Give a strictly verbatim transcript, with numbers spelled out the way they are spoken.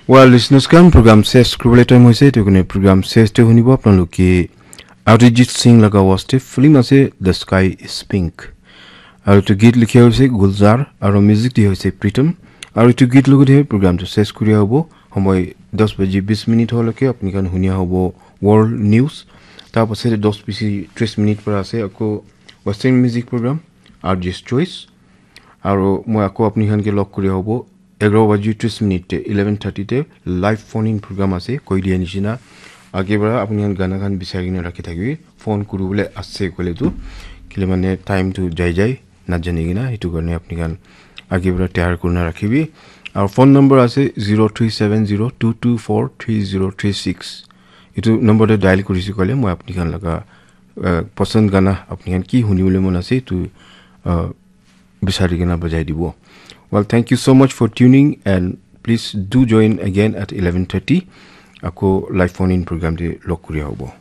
Well, listeners khan, program ses kuribole time hoise, etu karne program ses te hunibo apnaloke Arijit Singh laga waste film ase, The Sky Is Pink. Aru etu git likha hoise Gulzar, aru music dia hoise Pritam. Aru etu git logote program tu ses kuria hobo. Homoi das baji bis minute holoke apni khan hunia hobo World News. Tar pasate das baji tris minute para ase ako Western Music Program, R J's Choice. Aru moi ako apni khan ke log kuria hobo egharo baji tris minute te, eleven thirty te live phone in program ase, koi dia nishina. Age para apni khan gana khan bisari kena rakhi thakibi, phone kuribole ase koile tu, kile mane time tu jai jai, na jani kena, etu karne apni khan age para tayar kurina rakhibi. Aru phone number ase zero three seven zero two two four three zero three six. Etu number te dial kurisi koile moi apni khan laga, uh, pasand gana apni khan ki hunibole mon ase, etu, uh, bisari kena bajai dibo. Well, thank you so much for tuning and please do join again at eleven thirty. Ako live phone in program te log kuria hobo.